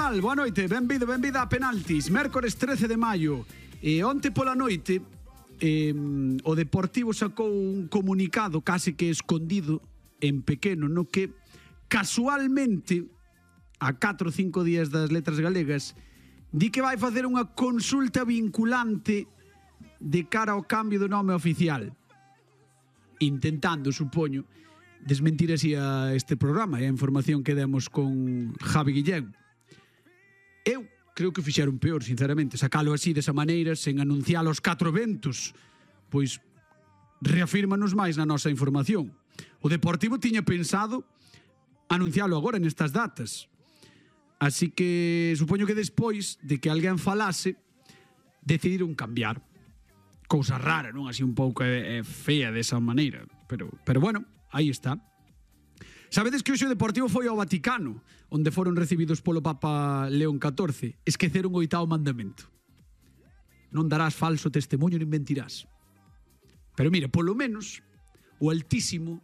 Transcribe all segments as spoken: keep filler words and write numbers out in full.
tal? Boa noite, benvido, benvida a Penaltis. Mércores trece de maio. E onte pola noite eh, o Deportivo sacou un comunicado case que escondido en pequeno, no que casualmente a catro ou cinco días das letras galegas di que vai facer unha consulta vinculante de cara ao cambio do nome oficial, intentando, supoño, desmentir así a este programa e a información que demos con Javi Guillén. Eu creo que fixeron peor, sinceramente, sacalo así desa maneira, sen anunciar os catro ventos, pois reafírmanos máis na nosa información. O Deportivo tiña pensado anuncialo agora nestas datas, así que supoño que despois de que alguén falase decidiron cambiar. Cousa rara, non? Así un pouco é, é fea desa maneira, pero, pero bueno, aí está. Sabedes que hoxe o Deportivo foi ao Vaticano, onde foron recibidos polo Papa León catorce. Esqueceron o oitavo mandamento: non darás falso testemunho nin mentirás. Pero mire, polo menos o Altísimo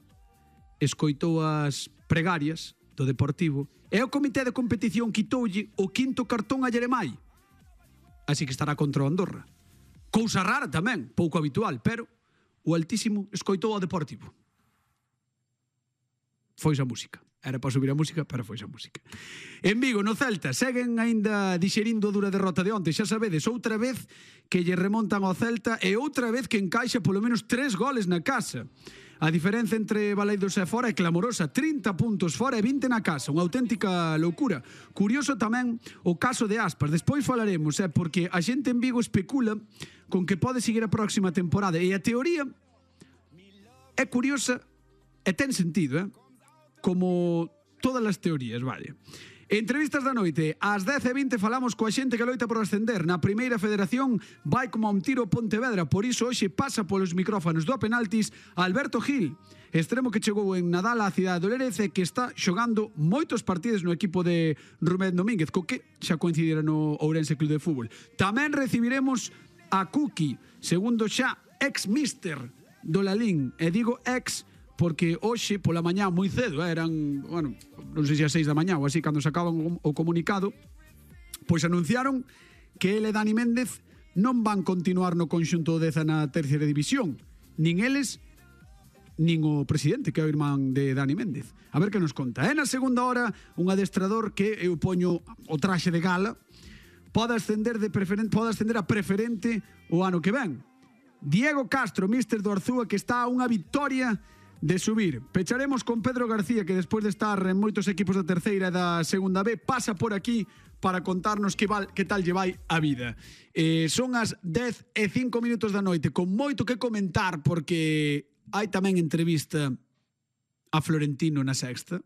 escoitou as pregarias do Deportivo e o comité de competición quitoulle o quinto cartón a Yeremai, así que estará contra o Andorra. Cousa rara tamén, pouco habitual, pero o Altísimo escoitou ao Deportivo. Foise a música. Era para subir a música, pero foise a música. En Vigo, no Celta, seguen aínda dixerindo a dura derrota de onte. Xa sabedes, outra vez que lle remontan ao Celta e outra vez que encaixa polo menos tres goles na casa. A diferenza entre Baleidos e fora é clamorosa. trinta puntos fora e vinte na casa. Unha auténtica loucura. Curioso tamén o caso de Aspas. Despois falaremos, eh, porque a xente en Vigo especula con que pode seguir a próxima temporada. E a teoría é curiosa e ten sentido, eh? Como todas as teorías, vale. Entrevistas da noite. Ás dez e vinte falamos coa xente que loita por ascender. Na primeira federación vai como a un tiro Pontevedra. Por iso hoxe pasa polos micrófonos do Penaltis Alberto Gil, extremo que chegou en Nadal á cidade do Lerece, que está xogando moitos partidos no equipo de Rubén Domínguez, co que xa coincidira no Ourense Club de Fútbol. Tamén recibiremos a Cuqui, segundo xa ex-mister do Lalín. E digo ex porque hoxe pola mañá moi cedo, eh, eran, bueno, non sei se a seis da mañá ou así, cando sacaban o comunicado, pois anunciaron que ele e Dani Méndez non van continuar no conxunto deza na terceira división, nin eles nin o presidente, que é o irmán de Dani Méndez. A ver que nos conta. E na segunda hora, un adestrador que eu poño o traxe de gala pode ascender de preferente, pode ascender a preferente o ano que ven. Diego Castro, míster do Arzúa, que está a unha victoria de subir. Pecharemos con Pedro García, que despois de estar en moitos equipos da terceira e da segunda B, pasa por aquí para contarnos que, val, que tal lle vai a vida. Eh, son as dez e cinco minutos da noite, con moito que comentar, porque hai tamén entrevista a Florentino na Sexta,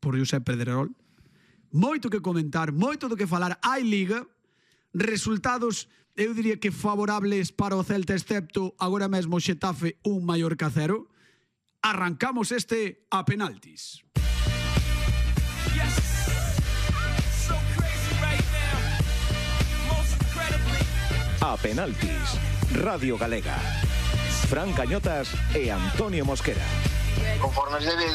por Josep Pedrerol. Moito que comentar, moito do que falar. Hai Liga, resultados, eu diría que favorables para o Celta, excepto agora mesmo Xetafe un Mallorca cero. Arrancamos este A Penaltis. A Penaltis, Radio Galega. Fran Cañotas e Antonio Mosquera. Conforme se